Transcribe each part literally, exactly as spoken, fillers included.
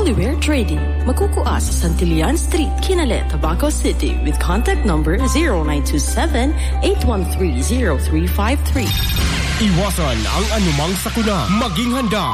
We're trading. Magkukua sa Santillan Street, Kinale, Tabaco City with contact number zero nine two seven, eight one three, zero three five three. Iwasan ang anumang sakuna. Maging handa.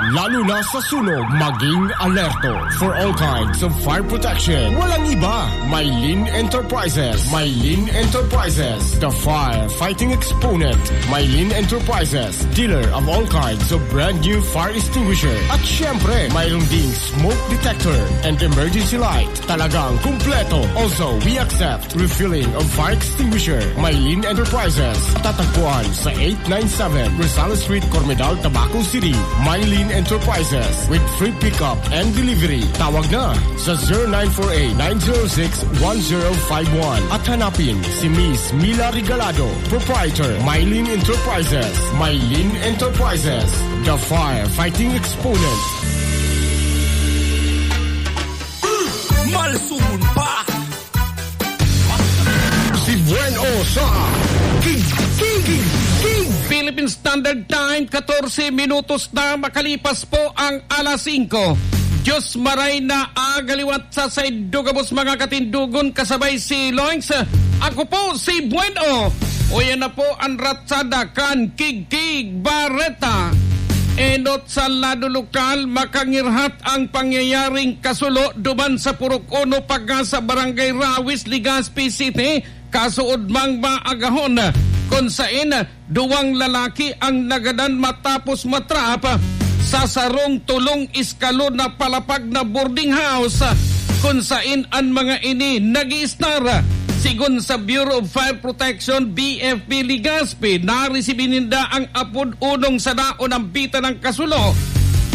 Lalo na sa sunog, maging alerto. For all kinds of fire protection, walang iba. Mylene Enterprises. Mylene Enterprises, the firefighting exponent. Mylene Enterprises, dealer of all kinds of brand new fire extinguisher. At syempre, mayroon ding smoke detector and emergency light. Talagang kumpleto. Also, we accept refilling of fire extinguisher. Mylene Enterprises. Tatagpuan sa eight nine seven Rosales Street, Cormedal, Tabaco City. Mylene Enterprises with free pickup and delivery. Tawag na sa zero nine four eight, nine zero six, one zero five one. At hanapin si Miss Mila Regalado, proprietor, Mylene Enterprises. Mylene Enterprises, the firefighting exponent. Malsumon pa! Si Bueno sa King, King, King, King. Philippine Standard Time, katorse minutos na makalipas po ang alas singko. Diyos maray na aga liwat sa saindo gabos, mga katindogon, kasabay si Loings. Ako po si Bueno. O, yan na po ang ratsada kan Kigkig Bareta. Enot sa lado lokal, makangirhat ang pangyayaring kasulo duman sa Purok Uno, Pagasa, Barangay Rawis, Legazpi City, kasuodmang maagahon, kun saen duwang lalaki ang nagadan matapos matrap sa sarong tolong eskalon na palapag na boarding house, kun saen an mga ini nag-iistar. Sigon sa Bureau of Fire Protection, B F P Legazpi, naresibi ninda ang apod unong sa daon ang bita ng kasulo.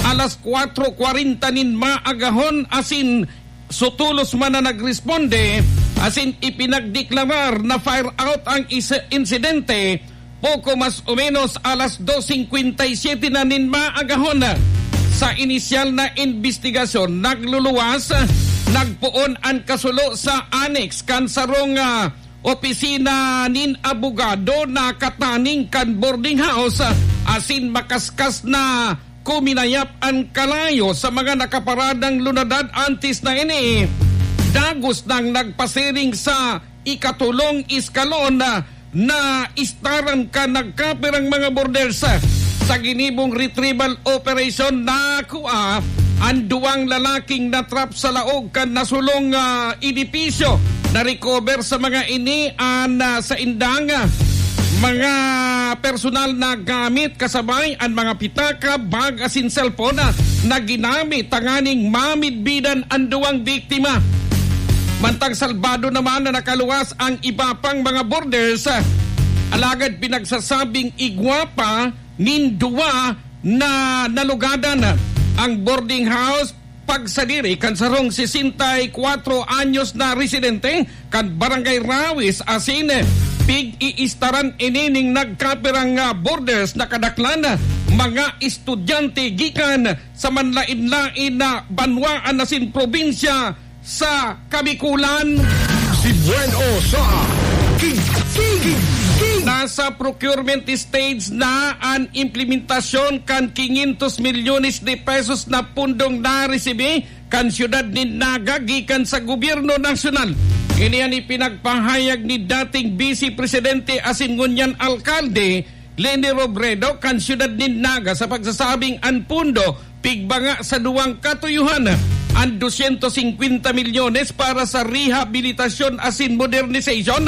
Alas kwatro kwarenta nin maagahon, asin sutulos man na nagresponde, asin ipinagdeklarar na fire out ang is-, insidente, poko mas o menos alas dos singkwenta y siyete na nin maagahon. Sa inisyal na imbestigasyon, nagluluwas, nagpoon an kasulo sa annex kan sarong, ah, opisina nin abogado na kataning kan boarding house, asin makaskas na kuminayap an kalayo sa mga nakaparadang lunadad antes na ini. Dagos nang nagpasiring sa ikatolong eskalon na, na istaran kan nagkapirang mga boarders. Sa ginibong retrieval operation, nakua an duwang lalaking natrap sa laog kan nasulong, ah, edipisyo. Na-recover sa mga ini an, ah, saindang, ah, mga personal na gamit, kasabay an mga pitaka, bag asin cellphone, ah, na ginamit tanganing mamidbidan an duwang biktima. Mantang salbado naman na nakaluwas ang iba pang mga boarders, ah, alagad pinagsasabing igwa pa nin duwa na nalugadan. Ang boarding house pagsadiri kan sarong sesenta y kwatro anyos na residente kan Barangay Rawis asin pig-iistaran ini ning nagkapirang, ah, boarders na kadaklan mga estudyante gikan sa manlaen-laen na banwaan asin probinsya sa Kabikulan. Si Bueno sa King, King, King, King. Nasa procurement stage na an implementasyon kan quinientos milyones de pesos na pundong naresibi kan siyudad nin Naga gikan sa gobyerno nasyonal. Ini an ipinagpahayag ni dating Vice Presidente asin ngunyan alkalde Leni Robredo kan siyudad nin Naga sa pagsasabing an pundo pigbanga sa duwang katuyohan, an dosyentos singkwenta milyones para sa rehabilitasyon asin modernization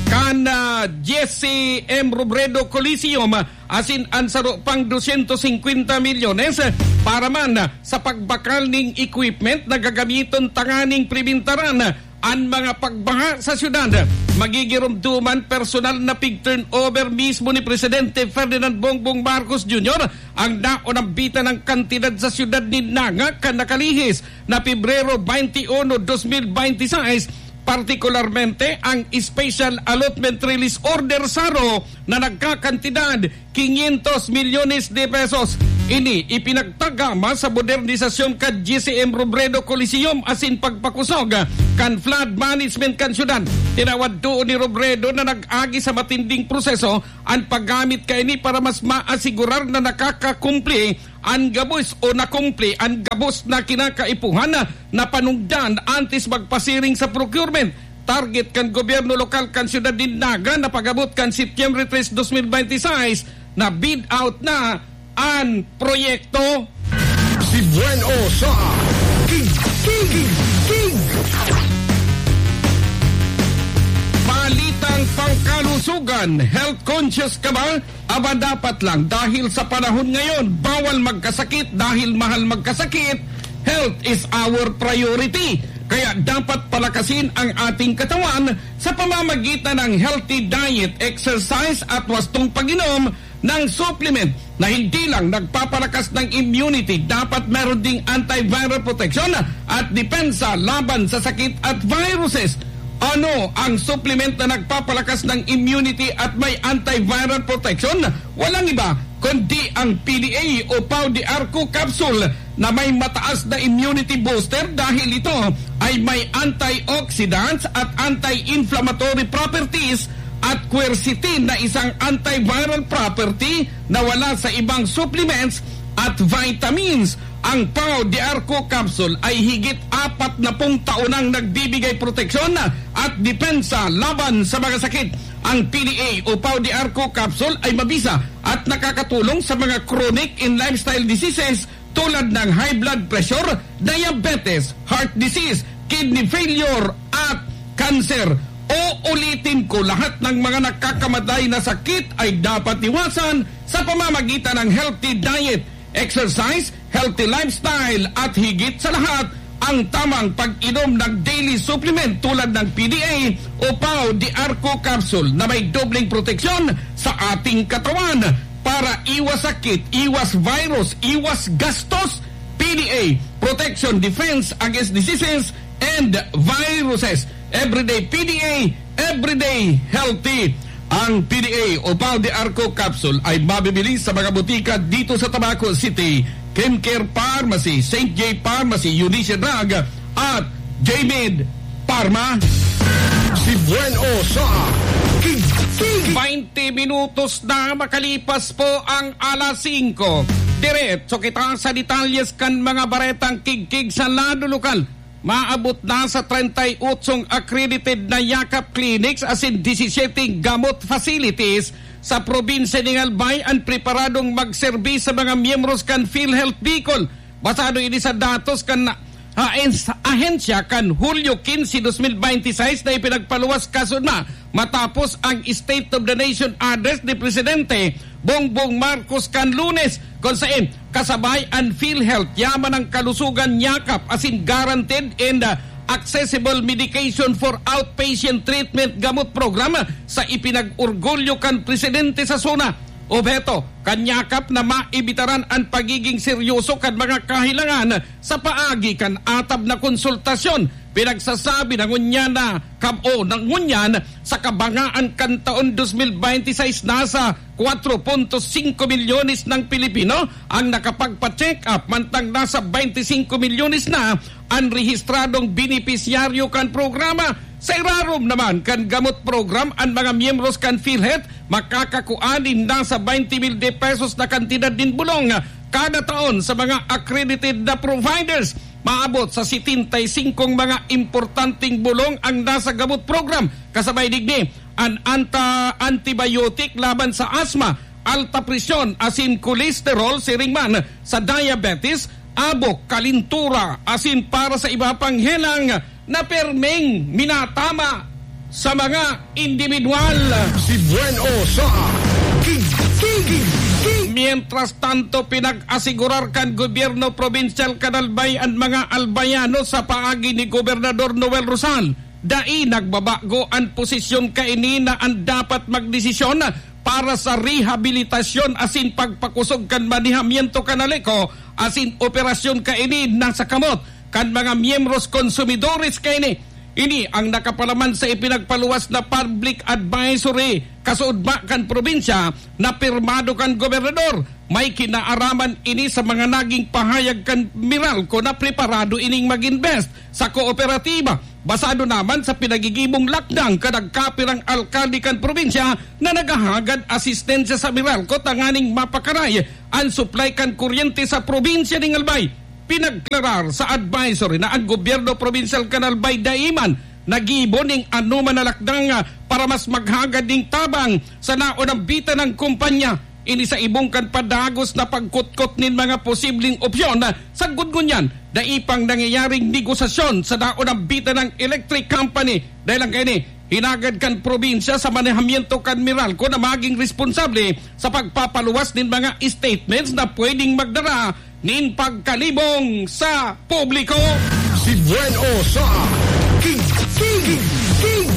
kan, ah, Jesse M Robredo Coliseum, asin an saro pang dosyentos singkwenta milyones para man sa pagbakal ning equipment na gagamiton tanganing pribintaran an mga pagbaha sa syudad. Magigiromdoman personal na pig-turnover mismo ni Presidente Ferdinand Bongbong Marcos Junior ang naonambita ng kantidad sa syudad ni Naga kan nakalihis na Pebrero twenty-one, dos mil binte y seis, partikularmente ang Special Allotment Release Order, saro, na nagkakantidad quinientos milyones de pesos. Ini ipinagtagama sa modernisasyon kan G C M Robredo Coliseum asin pagpakusog kan flood management kan syudad. Tinawad toon ni Robredo na nag-agi sa matinding proseso an paggamit kaini para mas maasigurar na nakakakumpli an gabos o nakumpli an gabos na kinakaipuhan na panungdan antes magpasiring sa procurement. Target kan gobyerno lokal kan siyudad nin Naga na pag-abot kan Setyembre tres, dos mil bente y seis, na bid out na an proyekto. Si Buen O sa Tig-, Tig-, Tig-, Tig-. Balitang pangkalusugan, health conscious ka ba? Aba, dapat lang, dahil sa panahon ngayon, bawal magkasakit dahil mahal magkasakit. Health is our priority. Kaya dapat palakasin ang ating katawan sa pamamagitan ng healthy diet, exercise at wastong pag-inom ng supplement na hindi lang nagpapalakas ng immunity, dapat meron ding antiviral protection at depensa laban sa sakit at viruses. Ano ang supplement na nagpapalakas ng immunity at may antiviral protection? Walang iba kundi ang P D A o Pau de Arco capsule na may mataas na immunity booster dahil ito ay may antioxidants at anti-inflammatory properties at quercetin na isang antiviral property na wala sa ibang supplements at vitamins. Ang Pau de Arco capsule ay higit apat na pung taon nang nagbibigay proteksyon at depensa laban sa mga sakit. Ang P D A o Pau de Arco capsule ay mabisa at nakakatulong sa mga chronic and lifestyle diseases tulad ng high blood pressure, diabetes, heart disease, kidney failure, at cancer. Uulitin ko, lahat ng mga nakakamatay na sakit ay dapat iwasan sa pamamagitan ng healthy diet, exercise, healthy lifestyle, at higit sa lahat, ang tamang pag-inom ng daily supplement tulad ng P D A o Pau de Arco capsule na may dobleng proteksyon sa ating katawan para iwas sakit, iwas virus, iwas gastos. P D A, protection, defense against diseases and viruses. Everyday P D A, everyday healthy. Ang P D A o Pau de Arco capsule ay mabibili sa mga botika dito sa Tabaco City, Kimcare Pharmacy, Saint J Pharmacy, Eunice Drug, at J-Med Pharma. Si Buen O sa Tig-, Tig-, Baynte minutos na makalipas po ang alas singko. Diretso kita sa detalyes kan mga baretang kigkig sa lado lokal. Maabot na sa treinta y ocho accredited na Yakap clinics asin disisiyete gamot facilities sa probinsya nin Albay an preparadong magserbi sa mga miyembros kan PhilHealth Bicol. Basado ini sa datos kan ahens-, ahensya kan Hulyo quince, dos mil veintiseis na ipinagpaluwas kasunod na matapos ang State of the Nation Address ni Presidente Bongbong Marcos kan Lunes, kung saen kasabay an PhilHealth, Yaman ng Kalusugan, Yakap, asin Guaranteed and, ah, Accessible Medication for Outpatient Treatment Gamot Program sa ipinag-orgulyo kan Presidente sa SONA. Obheto kan Yakap na maibitaran an pagiging seryoso kan mga kahilangan sa paagi kan atab na konsultasyon. Pinagsasabi na ngunyan na kab-, o na ngunyan sa kabangaan kan taon dos mil bente y seis, nasa kwatro punto singko milyones ng Pilipino ang nakapagpa-check up, mantang nasa bente singko milyones na an rehistradong benepisyaryo kan programa. Sa irarom naman kan gamot program, an mga miyembros kan PhilHealth makakakua nin nasa bente mil de pesos na kantidad nin bolong kada taon sa mga accredited na providers. Maabot sa setenta y singkong mga importanteng bolong ang nasa gamot program. Kasabay digdi, an anta-, antibiotic laban sa asma, alta presyon, asin cholesterol, siring man sa diabetes, abok, kalintura, asin para sa iba pang helang na perming minatama sa mga indibidwal. Si Buen O sa Tig-, Tig-, Tig-. Mientras tanto, pinag-asigurar kan gobyerno probinsyal kan Albay an mga Albayano sa paagi ni Gobernador Noel Rosal. Dai nagbabago an posisyon kaini na an dapat magdesisyon para sa rehabilitasyon asin pagpakusog kan manehamiento kan ALECO asin operasyon kaini nasa kamot kan mga miyembros, konsumidores kaini. Ini ang nakapalaman sa ipinagpaluwas na public advisory kasuodma kan probinsya na pirmado kan gobernador. May kinaaraman ini sa mga naging pahayag kan Meralco na preparado ining mag-invest sa kooperatiba. Basado naman sa pinagigibong lakdang kan nagkapirang alkalde kan probinsya na naghahagad asistensya sa Meralco tanganing mapakaray an supply kan kuryente sa probinsya ning Albay. Pinagklarar sa advisory na ang gobyerno probinsyal kan Albay dai man naggibo ning anoman na lakdang, ah, para mas maghagad ning tabang sa naonambitan na kumpanya. Ini sa ibong kan padagos na pagkutkot nin mga posibleng opsyon, ah, sagkod ngunyan, dai pang nangyayaring negosasyon sa naonambitan na electric company. Dahil ang kaini, hinagad kan probinsya sa manehamiento kan Meralco na maging responsable sa pagpapaluwas nin mga statements na pwedeng magdara nin pagkalibong sa publiko. Si Buen O sa King, King, King.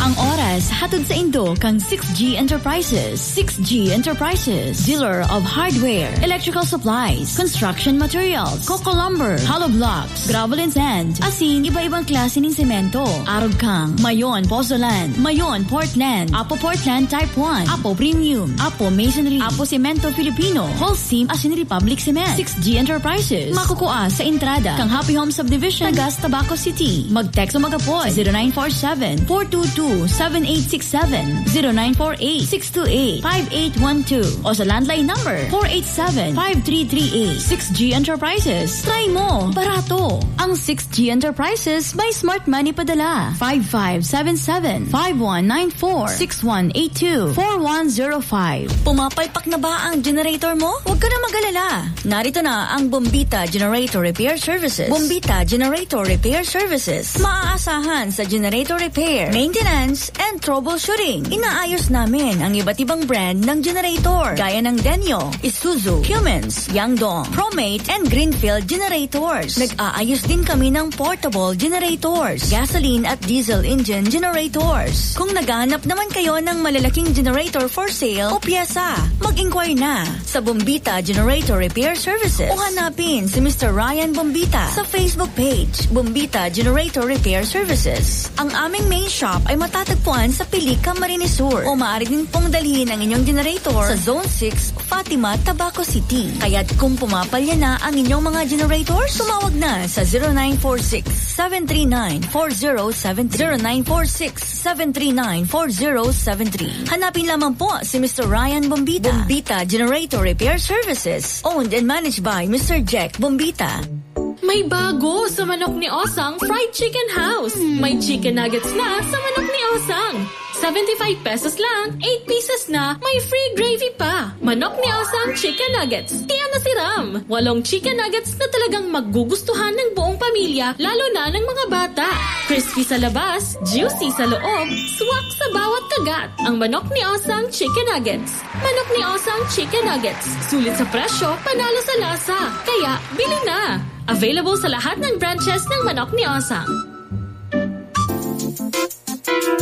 Ang oras hatod saindo kan six G Enterprises. Six G Enterprises, dealer of hardware, electrical supplies, construction materials, coco lumber, hollow blocks, gravel and sand, asin iba-ibang klase nin semento. Arog kang Mayon Pozzolan, Mayon Portland, Apo Portland Type one, Apo Premium, Apo Masonry, Apo Semento Filipino, Holcim asin Republic Cement. Six G Enterprises, makukua sa entrada kan Happy Home Subdivision, Tagas, Tabaco City. Mag-text o mag-apod, zero nine four seven, four two two, seven eight six seven, zero nine four eight, six two eight, five eight one two, o sa landline number, four eight seven, five three three eight. Six G Enterprises, try mo, barato. Ang Six G Enterprises may Smart Money Padala, five five seven seven, five one nine four, six one eight two, four one zero five. Pumapalpak na ba ang generator mo? Huwag ka na mag-alala. Narito na ang Bombita Generator Repair Services. Bombita Generator Repair Services. Maaasahan sa generator repair, maintenance, and troubleshooting. Inaayos namin ang iba't ibang brand ng generator, gaya ng Denyo, Isuzu, Cummins, Yangdong, Promate, and Greenfield generators. Nag-aayos din kami ng portable generators, gasoline at diesel engine generators. Kung naghahanap naman kayo ng malalaking generator for sale o pyesa, mag-inquire na sa Bombita Generator Repair Services o hanapin si Mister Ryan Bombita sa Facebook page, Bombita Generator Repair Services. Ang aming main shop ay matatagpuan sa Pilica, Marinesur, o maaari din pong dalhin ang inyong generator sa Zone six, Fatima, Tabaco City. Kaya't kung pumapalya na ang inyong mga generator, tumawag na sa zero nine four six, seven three nine, four zero seven three. Zero nine four six, seven three nine, four zero seven three. Hanapin lamang po si Mister Ryan Bombita. Bombita Generator Repair Services, owned and managed by Mister Jack Bombita. May bago sa Manok ni Osang Fried Chicken House. May chicken nuggets na sa Manok ni Osang. Seventy-five pesos lang, eight pieces na, may free gravy pa. Manok ni Osang Chicken Nuggets. Tiyan na siram! Walong chicken nuggets na talagang magugustuhan ng buong pamilya, lalo na ng mga bata. Crispy sa labas, juicy sa loob, swak sa bawat kagat. Ang Manok ni Osang Chicken Nuggets. Manok ni Osang Chicken Nuggets. Sulit sa presyo, panalo sa lasa. Kaya, bili na! Available sa lahat ng branches ng Manok ni Osang.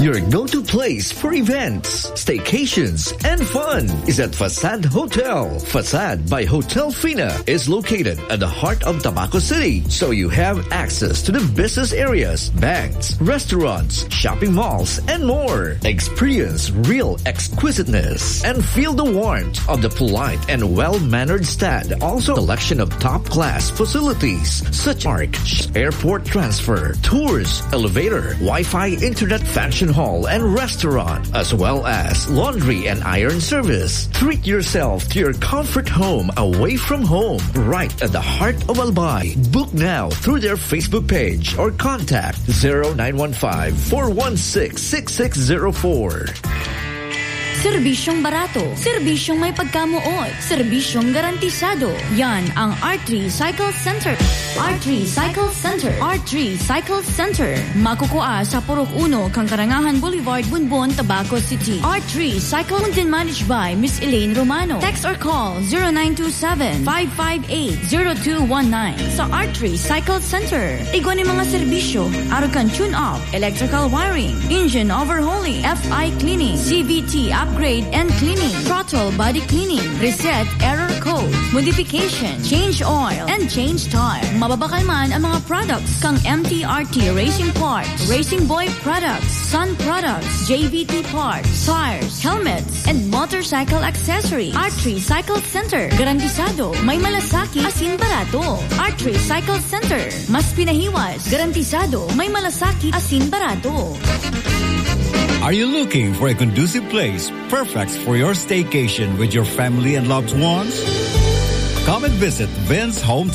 Your go-to place for events, staycations, and fun is at Facade Hotel. Facade by Hotel Fina is located at the heart of Tabaco City, so you have access to the business areas, banks, restaurants, shopping malls, and more. Experience real exquisiteness and feel the warmth of the polite and well-mannered staff. Also, selection of top-class facilities such as airport transfer, tours, elevator, Wi-Fi, internet, function hall, and restaurant, as well as laundry and iron service. Treat yourself to your comfort home away from home, right at the heart of Albay. Book now through their Facebook page or contact zero nine one five, four one six, six six zero four. Serbisyong barato, serbisyong may pagkamoot, serbisyong garantisado. Yan ang R three Cycle Center. R three Cycle Center. R three Cycle Center. Makukua sa Purok Uno, Kangkarangahan Boulevard, Bonbon, Tabaco City. R three Cycle, owned and managed by Miss Elaine Romano. Text or call zero nine two seven, five five eight, zero two one nine. Sa R three Cycle Center, igwa nin mga serbisyo, arog kan tune-up, electrical wiring, engine overhauling, F I cleaning, C V T upgrade and cleaning, throttle body cleaning, reset error code, modification, change oil, and change tire. Mababakalman ang mga products kang M T R T Racing Parts, Racing Boy Products, Sun Products, J V T Parts, tires, helmets, and motorcycle accessories. R three Cycle Center. Garantisado, may malasakit asin barato. R three Cycle Center. Mas pinahiwas. Garantisado, may malasakit asin barato. Are you looking for a conducive place perfect for your staycation with your family and loved ones? Come and visit Vince Home